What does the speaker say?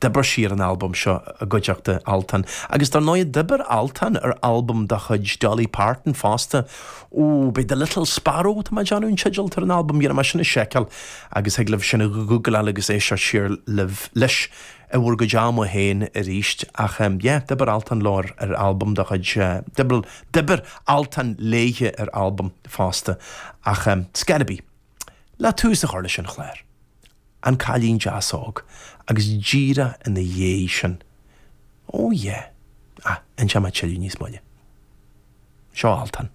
D'oibir sí ar an albam seo i gcuideachta Altan. Agus dar ndóigh, d'oibir Altan ar albam de chuid Dolly Parton fosta. Ó, b'é The Little Sparrow, tá mé ag déanamh, an teideal atá ar an albam. Dhéanfaidh mé sin a sheiceáil agus thig libh sin a ghúgláil agus éisteacht siar libh leis i bhur gcuid ama féin arís. Ach yeah, d'oibir Altan leo ar ar albam de chuid, d'oibir, d'oibir Altan léithe ar albam fosta. Ach scor ar bith, le tús a chur leis an chlár. An Cailín Deas Óg, agus díreach ina dhiaidh sin, oh yeah, ah, inseoidh mé tuilleadh níos moille. Seo Altan.